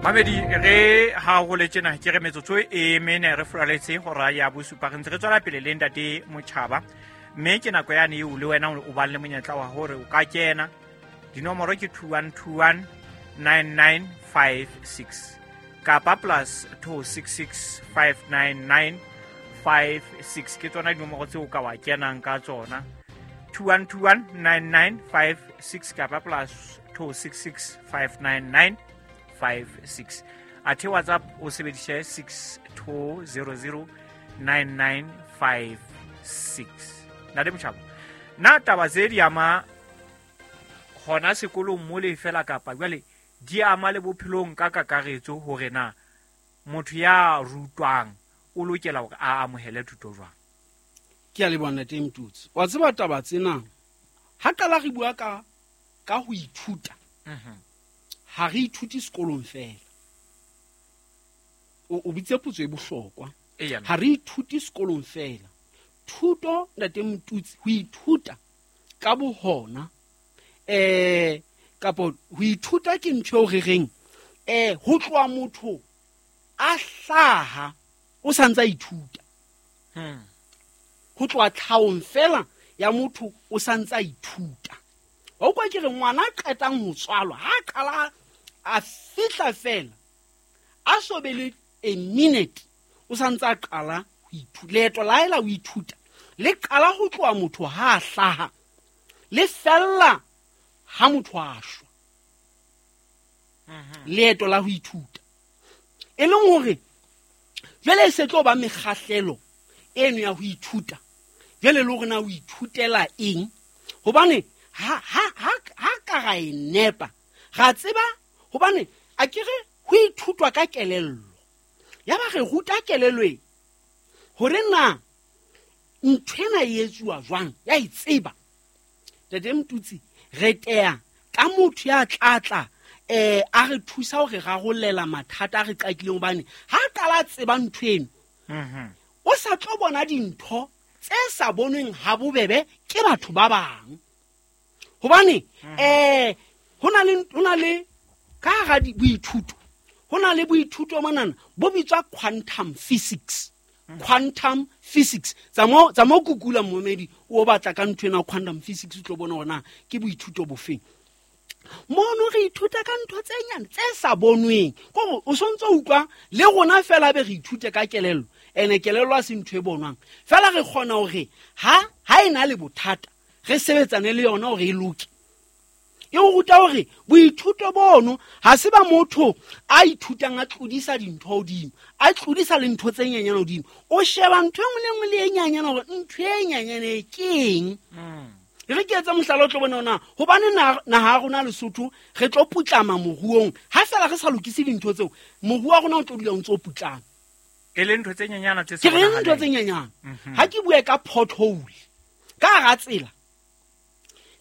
Mamedi, re ha ho le tjena ke re metsotso e mene re furaletse hora ya bosupa, re ntse re tswela pele le ntate Motjhaba, mme ke nako yane eo le wena o bang le monyetla wa hore o ka kena. Dinomoro ke 2121 9956 kapa plus 266 599 56, ke tsona dinomoro tseo ka wa kenang ka tsona, 2121 9956 kapa plus 266 599 56. Athe WhatsApp o sebedise 6200 9956. Ntate Motjhaba, na taba tse di ama hona sekolong mole fela, kapa jwale di ama le bophelong ka kakaretso, hore na motho ya rutwang o lokela hore a amohele thuto jwang? Ke a leboha, ntate Mtutsi. Wa tseba, taba tsena ha qala re bua ka ho ithuta, ha re ithute sekolong fela. O bitse potso e bohlokwa. Ha re ithute sekolong fela. Thuto, ntate Motutsi, ho ithuta ka bohona, kapo ho ithuta ke ntho eo re reng ho tloha motho a hlaha o santse a ithuta. Ho tloha tlhahong fela ya motho o santse a ithuta. Wa utlwa, ke re ngwana a qetang ho tswalwa, ha a qala a fihla fela, a so be le a minute, o santse a qala ho ithuta. Leeto la hae la ho ithuta le qala ho tloha motho ha a hlaha, le fella ha motho a shwa. Leeto la ho ithuta, e leng hore jwale e se tlo ba mekgahlelo eno ya ho ithuta, jwale le hore na o ithutela eng, hobane ha ka ra e nepa, ra tseba hobane a ke re ho ithutwa ka kelello, ya ba re ruta kelello e hore na ntho ena e etsuwa jwang, ya e tseba. Tate Motutsi, re teya ka motho ya tlatla a re thusa hore rarollela mathata a re qakileng, hobane ha qala tseba ntho eno, o sa tlo bona dintho tse sa bonweng ha bobebe ke batho ba bang, hobane ho na le ka hara boithuto, ho na le boithuto monana bo bitswa quantum physics. Quantum physics, tsa mo kukula momedi o batla ka ntho ena quantum physics, o tlo bona hore na ke boithuto bofeng. Mono re ithuta ka ntho tse nyane tse sa bonweng, kore o sontse o utlwa le rona fela be re ithute ka kelello, ene kelello a se ntho e bonwang fela. Re kgona hore ha e na le bothata re sebetsane le yona hore e loke. E o ruta hore boithuto bono ha se ba motho a ithutang a tlodisa dintho hodimo, a tlodisa le ntho tse nyenyane hodimo. O sheba ntho e nngwe le nngwe le e nyenyane hore ntho e nyenyane e ke eng. Re ke etse mohlala, o tlo bona ona hobane naha ya rona Lesotho re tlo putlama moruong ha fela re sa lokise dintho tseo. Moruo wa rona o tlo dula o ntse o putlama. E le ntho tse nyenyana tse sa Ke re ntho tse bonahaleng. nyenyane. Ha ke bue ka pothole ka hara tsela,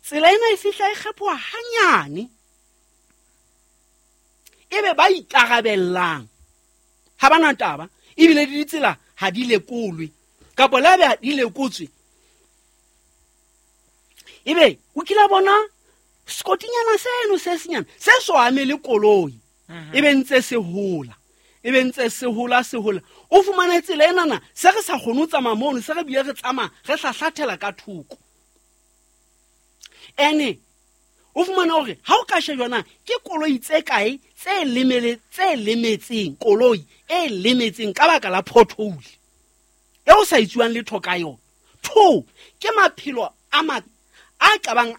tsela ena e fihla e kgephoha hanyane, ebe ba ikarabellang ha ba na taba, ebile le ditsela ha di lekolwe, kapa le habe di lekotswe, ebe o kila bona sekotinyana seno se senyane se so ame le koloi, e be ntse se hola, e be ntse se hola, se hola, o fumane tsela enana se re sa kgone ho tsamaya mono, se re bile re tsamaya re hlahlathela ka thoko. Ene o fumane hore ha o ka shejwana ke koloi tse kae tse lemele, tse lemetseng, koloi e lemetseng ka baka la pothole e o sa itsuwang letho ka yona. Two ke maphelo a ma a kabang.